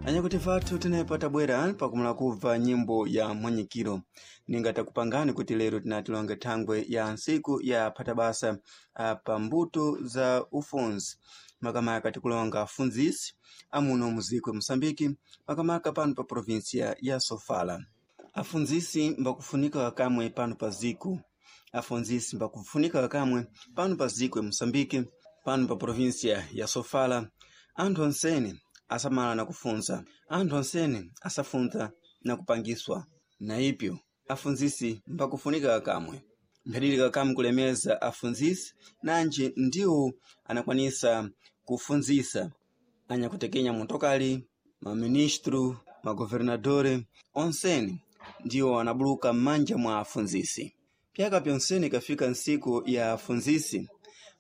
Anyakuti vathu tinepa tabwera pakumala kubva nyimbo ya mwanyikiro ningatakupangani kuti lero tinatilonge thangwe ya ntsiku ya phatabasa pa mbuto za ufunzi makamaka tikulonga afundzisi amuno muziko ya Moçambique makamaka pano pa província ya Sofala. Afundzisi mbakufunika kamwe pano pa ziko, afundzisi mbakufunika kamwe pano pa ziko ya Moçambique, pano pa província ya Sofala. Anthu onsene asamala na kufunza, anthu onsene asafunza na kupangiswa, na ipyo afundzisi mbakufunika kamwe mphadilika kamwe kulemeza afundzisi nanji ndiwo anakwanisa kufundzisa anyakutekenya motokali, maministro, magovernadore onsene ndiwo anabuluka m'manja mwa afundzisi. Pyaka pyonsene ikafika ntsiku ya afundzisi,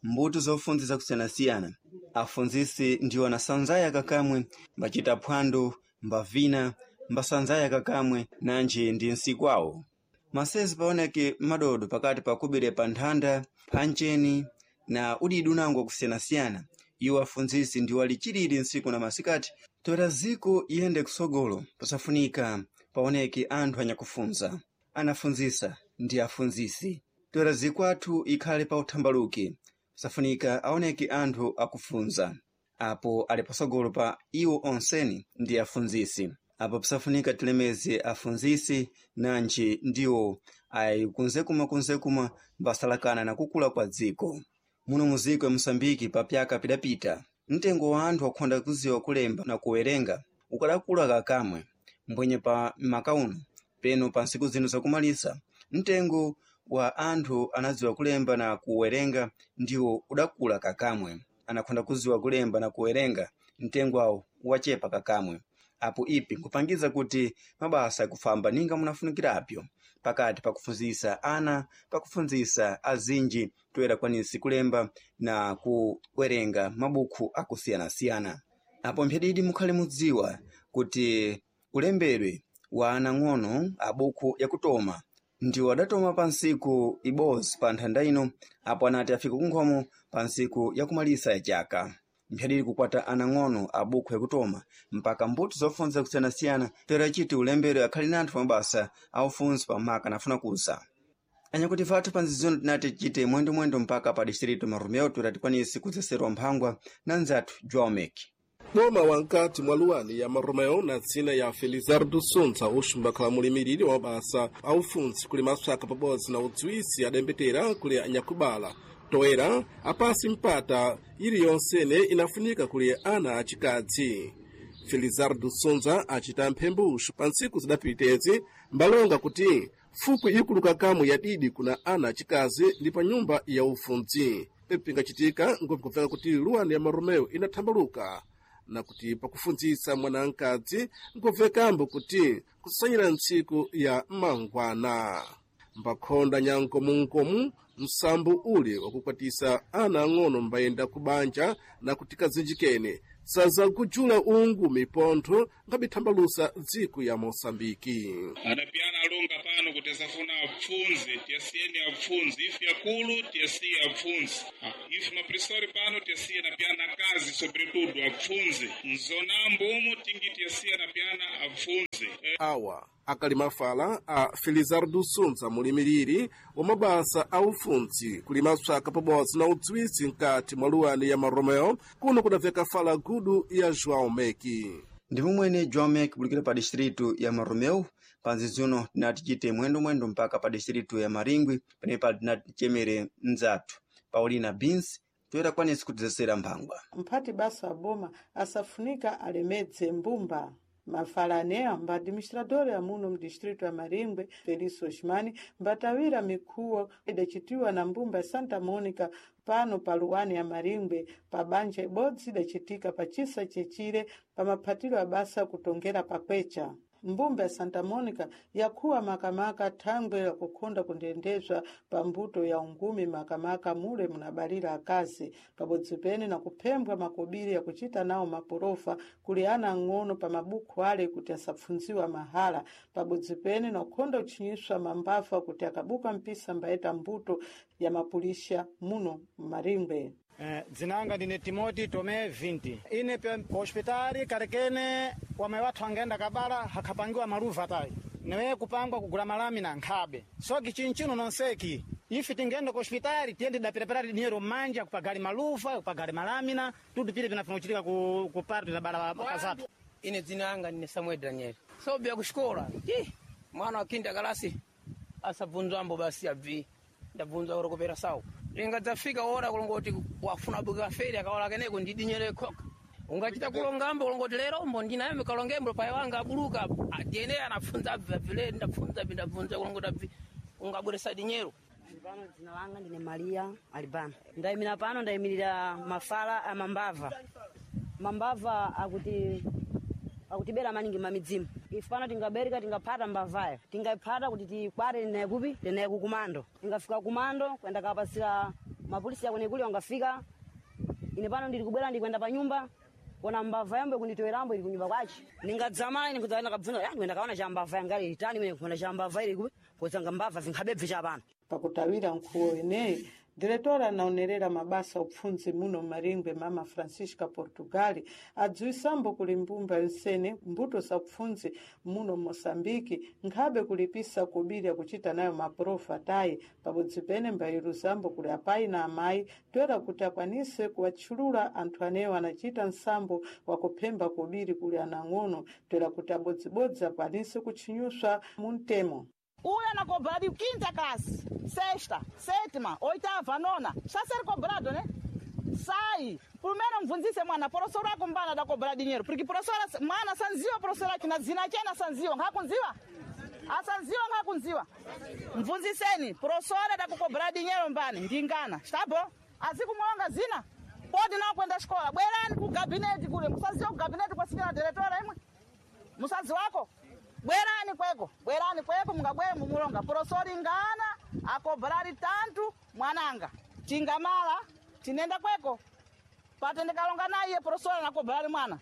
mbuto zofunza zakusiyanasiyana, afundzisi ndiwo anasanzaya kakamwe, mbacita phwando, mbavina, mbasanzaya kakamwe nanji ndi ntsiku awo. Masezi paoneke madodo pakati pa kubire pa nthanda, phancheni na udidi unango wakusiyanasiyana. Iwo afundzisi ndiwo alichilili ntsiku na masikati toera ziko iyende kusogolo, pasafunika paoneke anthu anyakufunza, anafundzisa ndi afundzisi. Toera ziko athu ikhale pa uthambaluki, pasafunika aoneke anthu akufunza, apo ali pasogolo pa iwo onseni ndi afundzisi. Apo pasafunika tilemeze afundzisi nanji ndiwo ayi kunzekuma mbasalakana na kukula kwa dziko. Muno muziko ya Moçambique pa pyaka pidapita, mtengo wa anthu akhonda kuziwa kulemba na kuwerenga ukadakula kakamwe, mbwenye pa maka uno peno pa ntsiku zino zakumalisa, mtengo wa anthu anadziwa kulemba na kuwerenga ndiwo udakula kakamwe, anakhonda kuziwa kulemba na kuwerenga mtengo awo wachepa kakamwe. Apo ipi nkupangiza kuti mabasa akufamba ninga munafunikirapyo pakati pakufunzisa ana, pakufunzisa azinji toera kwanisi kulemba na kuwerenga mabukhu akusiyanasiyana. Apo mphedidi mukhale mudziwa kuti ulembedwe wa anang'ono abukhu yakutoma ndiwo adatoma pa ntsiku ibodzi pa nthanda ino, apo anati afika kunkhomo pa ntsiku yakumalisa ya chaka. Mphadili kukwata anang'ono abukhu yakutoma mpaka mbuto zofunza kusiyanasiyana toera chiti ulembedwe akhali na anthu mabasa aufunzi pamaka anafuna kuza. Anyakuti vathu pa nzizino tinati tichite mwendomwendo mpaka pa distrito Marumeo toera tikwanise kudzeserwa mphangwa na nzathu João Meki. Boma wankati mwa luwani ya Maromeo na dzina ya Felizardo Suntsa uxumbakhala mulimiriri wa mabasa a ufuntsi kuli mapsaka pabodzi na udziwisi adembetera kuli anyakubala toera apasi mpata iliyonsene inafunika kuli ana acikadzi. Felizardo Sunza acita mphembuxu pa ntsiku zidapitezi mbalonga kuti fuku ikuluka kamwe yadidi kuna ana acikazi ndi pa nyumba ya ufuntsi. Ipingacitika ngopikubveka kuti luwani ya Maromeo inathambaluka na kuti pakufundzisa mwanamkadzi nkubvekambo kuti kusanyira ntsiku ya mangwana. Mbakhonda nyankomunkomu msambo uli wakukwatisa ana ang'ono mbayenda kubanja na kuti kazinjikene sazakujula ungu mipontho ngabithambalusa dziko ya Moçambike. Adapiyana alonga pano kuti asafuna apfunze, tiyasiyeni apfunze. Ife akulu tiyasiye apfunze. Ife mapresori pano tiyasiye na piyana kazi sobretudo apfunze. Mzonambo umo tingi tiyasiye na piyana apfunze. Awa akali mafala a Felizardo Sunza mulimiriri wa mabasa a ufuntsi kuli mapsaka pabodzi na udziwisi mkati mwa luwani ya Maromeo kuno kudabveka fala gudu ya João Meki. Ndi momwene João Meki kulikira pa distrito ya Maromeu, pa nzizino tinati tichite mwendomwendo mpaka pa distrito ya Maringwi, penepa tinati tichemere mnzathu Paulina Beans toera kwanisi kudzesera mphangwa. Mphati basa aboma asafunika alemedze mbumba. Mafalane amba administrador amuno mdistrito ya Maringwe Felício Osmani mbatawira mikhuwo idacitiwa na mbumba ya Santa Mônica pano pa luwani ya Maringwe pa banja ibodzi idacitika pa chisa chechire pa maphatiro a basa kutongera pakwecha. Mbumba ya Santa Mônica yakhuwa makamaka thangwe la kukhonda kundendezwa pa mbuto ya ungumi makamaka mule munabalira akazi pabodzi pene na kuphembwa makobiri yakuchita nawo maporofa kuli ana ang'ono pa mabukhu ale kuti asapfunziwa mahala pabodzi pene na kukhonda kutchinyiswa mambafa kuti akabuka mpisa mbayeta mbuto ya mapulisha muno mmaringwe. Dzinanga ndine Timoti Tome 20. Ine pe hospitali kalekene wamwe wathu angaenda kabala hakhapangiwa maluva tayi. Niwe kupangwa kugula malamina nkhabe. Soki chinchino nonseki. Ife tingenda ku hospitali tiyende dapirapira dinheiro manja kupagali maluva, kupagali malamina, tudu pile pinafunuchitika ku parto na bala makazatu. Ine dzina langa ndine Samuel Daniel. Sobya kushikola. Ti mwana wa kinda kalasi asabvunzwambo basi abvi. Ndabvunzwa uri kupera sawu. Ingadzafika ora kulongoti wafuna buka feri akaola keneko ndidinyere khoka. Ungachita kulongambo kulongoti lero mbo ndinayo mikalongembo paye wanga abuluka atiene anapfunza abvi abvile ndapfunza abvi ndabvunza kulongoti abvi ungabweresa dinyero. Pano dzina langa ndine Maria Alibano. Ndayimira pano ndayimirira mafala a mambava. Mambava akuti akutibera maningi mamidzimu. Ife pano tingabereka tingaphata mbavayo. Tingayiphata kuti tikwate tinaye kupi tinaye kukumando. Ingafika kumando kwenda kapasira mapolisi akwenekuli wangafika. Ine pano ndili kubwera ndikwenda pa nyumba kona mbava yambo kunditowerambo ili kunyumba kwace. Ningadzamala ine kudzaenda kabvunza yani kwenda kaona cha mbava yanga ili tani mene kuona cha mbava ili kupi kutsanga mbava zinkhabebve cha pano. Pakutawira nkhuwo ineyi diretora anaonerera mabasa upfundzi muno Maringwe mama Francisca Portugali adziwisambo kuli mbumba yonsene mbuto za upfundzi muno Moçambique nkhabe kulipisa kubiri akuchita nayo maprofa tayi pabodzi pene mbayiruzambo kuli apayi na amayi toera kuti akwanise kuwatchulula anthu anewo anachita nsambo wakuphemba kubiri kuli anang'ono toera kuti abodzibodzi akwanise kutchinyuswa mu mtemo. Uyo anacobrado quinta classe, sexta, sétima, oitava, nona. Está a ser cobrado, né? Sai. Primeiro mvunzise mwana, professor akumbana da cobrar dinheiro. Porque professora, mwana sanziwa professora aqui na zina chena sanziwa, ngakunziwa? Asanziwa ngakunziwa. Mvunziseni, professora da kukobrar dinheiro mbani, ndingana. Está bom? Azikumwonga zina. Pode não kwenda escola. Bwerani ku gabinete kule, musaziwa ku gabinete kwa senhora diretora imwe. Musazi wako? Bwerani kweko, bwerani kweko mungabwere mumulonga. Porosori ngana akobrari tantu mwananga. Tingamala tinenda kweko. Patendekalonga naye porosori anakobrari mwana.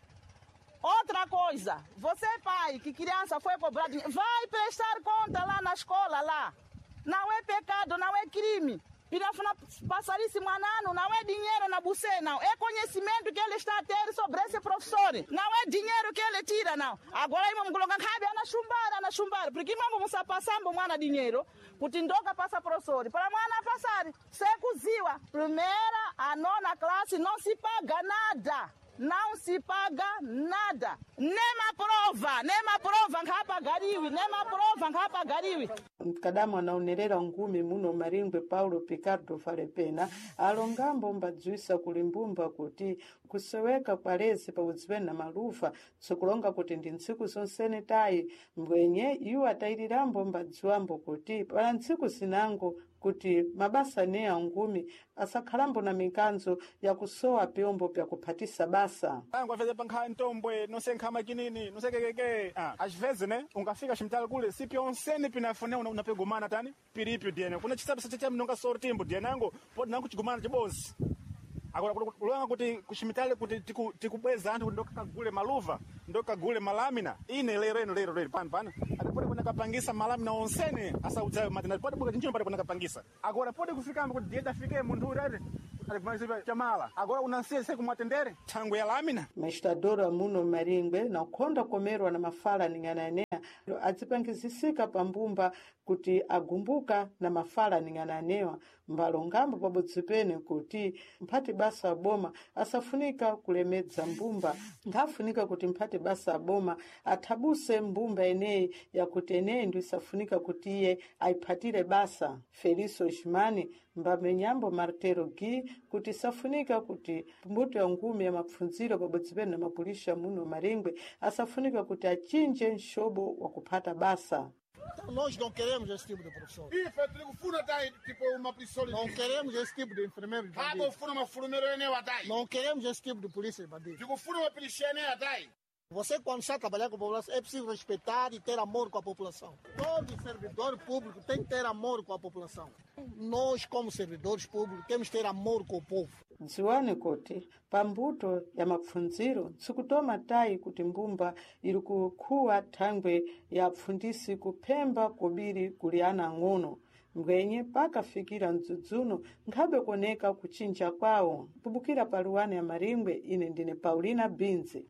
Outra coisa, você pai que criança foi cobrada, vai prestar conta lá na escola lá. Não é pecado, não é crime. Pirafuna passar isso mwanano, não é dinheiro na bucê, não. É conhecimento que ele está a ter sobre esse professor. Não é dinheiro que ele tira, não. Agora imamo kulonga nkhabe anachumbara, anachumbara. Porque imamo musapasambo mwana dinheiro, kuti ndoka passa professor. Para mwana passar, sekuziwa. Primeira a nona classe não se paga nada. Não se paga nada. Nema prova, nema prova nkhapagariwi, nema prova nkhapagariwi. Mkadamu anaonerera ngumi muno Maringwe Paulo Picardo Falepena alongambo mbadziwisa kuli mbumba kuti kuseweka kwa lezi pabodzi na maluva tsikulonga kuti ndi ntsiku zonsene tayi mbwenye iwo atayirirambo mbadziwambo kuti pala ntsiku zinango kuti mabasa ne angumi asakhalambo na mikanzo yakusowa pyombo pyakuphatisa basa. Angu afeze pankha ntombwe nosenkha makinini nosekekeke. Às vezes né ungafika ximtali kule si pyonsene pinafune unapegumana tani piripyo diene kuna chisapo chacha mnonga sortimbo diene angu podi nangu chigumana chibonzi. Agora kulonga kuti kuximitali kuti tikubweza anthu kuti ndokakagule maluva ndokagule malamina ine lero ino lero lero pano pano atipoti kunakapangisa malamina onsene asaudzayo matenda podi buka chinchino pati kunakapangisa agora podi kufikamba kuti dieta afike munthu uri ati atikumaliza chamala agora unansiye se kumwatendere thango ya lamina. Mestadoro amuno Maringwe na ukhonda komerwa na mafala ning'ananea adzipangizisika pambumba kuti agumbuka na mafala ning'ananewa mbalongambo pabodzi pene kuti mphati basa aboma asafunika kulemedza mbumba nkhafunika kuti mphati basa aboma athabuse mbumba eneyi yakuti eneyi ndi isafunika kuti iye ayiphatire basa. Feliso Gimani mbamenyambo Martero Gui kuti isafunika kuti mbuto ya ngumi ya mapfundziro pabodzi pene na mapulisha muno Maringwe asafunika kuti achinje mxobo wa kuphata basa. Nós não queremos esse tipo de professor. Ife tiri tai tipo uma pessoa. Não queremos esse tipo de enfermeiro de bandido. Hakufuna mafurumero ene watai. Não queremos esse tipo de polícia de bandido. Tikufuna mapilisha ene atai. Você, quando está a trabalhar com a população, é preciso respeitar e ter amor com a população. Todo servidor público tem que ter amor com a população. Nós, como servidores públicos, temos que ter amor com o povo. Dziwani kuti pambuto ya mapfundziro nsikutoma tayi kuti mbumba iri kukhuwa thangwe ya apfundisi kuphemba kobiri kuli ana ang'ono. Mbwenye pakafikira mdzudzuno nkhabe kuoneka kuchinja kwawo. Kubukira pa luwani ya Maringwe, ine ndine Paulina Binzi.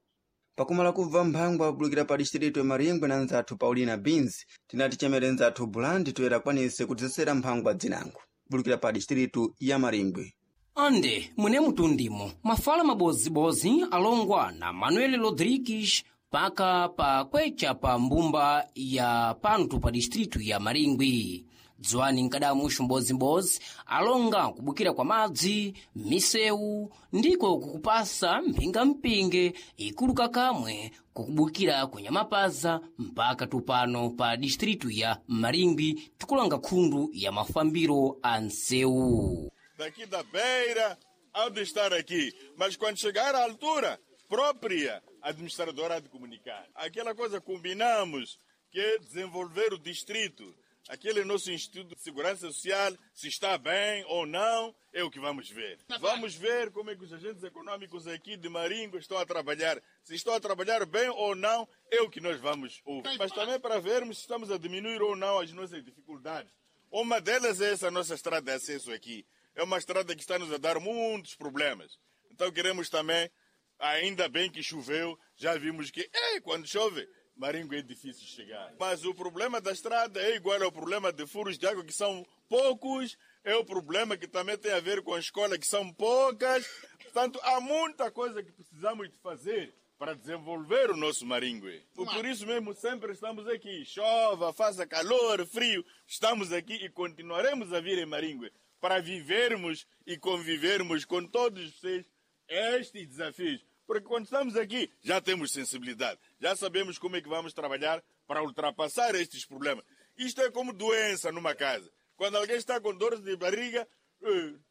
Pakumala kubva mphangwa kubulukira pa distrito ya Maringwe na nzathu Paulina Beans, tinati chemere nzathu Bulandi toyera kwanise kudzesera mphangwa dzinango kubulukira pa distrito ya Maringwe. Ande mune mutundimo mafala mabozibozi alongwa na Manuel Rodrigues paka pa kwecha pa mbumba ya pantu pa distritu ya Maringwi. Dzwani nkadamuxu mbozibozi alonga kubukira kwa madzi, misewu ndiko kukupasa mphingampinge ikuluka kamwe kukubukira kunyamapaza mpaka tupano pa distritu ya Maringwi tikulanga khundu ya mafambiro a nsewu. Daqui da beira há de estar aqui. Mas quando chegar à altura própria, a administradora há de comunicar. Aquela coisa combinamos, que é desenvolver o distrito. Aquele nosso Instituto de Segurança Social, se está bem ou não, é o que vamos ver. Vamos ver como é que os agentes econômicos aqui de Maringo estão a trabalhar. Se estão a trabalhar bem ou não, é o que nós vamos ouvir. Mas também para vermos se estamos a diminuir ou não as nossas dificuldades. Uma delas é essa nossa estrada de acesso aqui. É uma estrada que está nos a dar muitos problemas. Então queremos também, ainda bem que choveu, já vimos que ei, quando chove, Maringo é difícil chegar. Mas o problema da estrada é igual ao problema de furos de água, que são poucos, é o problema que também tem a ver com a escola, que são poucas. Portanto, há muita coisa que precisamos de fazer para desenvolver o nosso Maringue. Por isso mesmo sempre estamos aqui. Chova, faça calor, frio, estamos aqui e continuaremos a vir em Maringue para vivermos e convivermos com todos vocês estes desafios. Porque quando estamos aqui, já temos sensibilidade, já sabemos como é que vamos trabalhar para ultrapassar estes problemas. Isto é como doença numa casa. Quando alguém está com dores de barriga,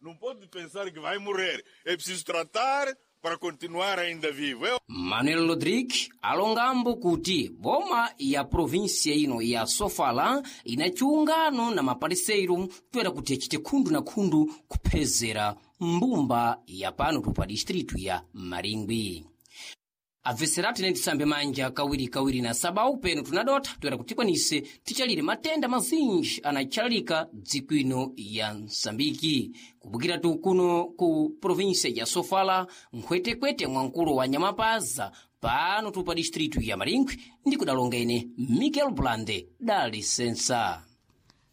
não pode pensar que vai morrer. É preciso tratar para continuar ainda vivo. Eu... Manuel Rodrigues alongambo kuti boma ya província ino ya Sofala ina chiungano na mapariseiro toera kuti achite khundu na khundu kuphezera mbumba ya pano pa distritu ya Maringwi. Abveseratu ine tisambe manja kawirikawiri na sabau peno tunadotha toera kuti tikwanise tichalire matenda mazinji anatchalalika dziko ino ya Msambiki. Kubukiratu kuno ku província ya Sofala, nkhwetekwete mwankulu wa Nyamapaza pano tu pa distritu ya Maringwi ndi kudalonga ine Miguel Blande da lisensa.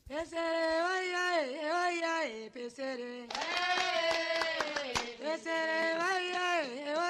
Pesere, oiae, oiae, pesere. Pesere, oiae.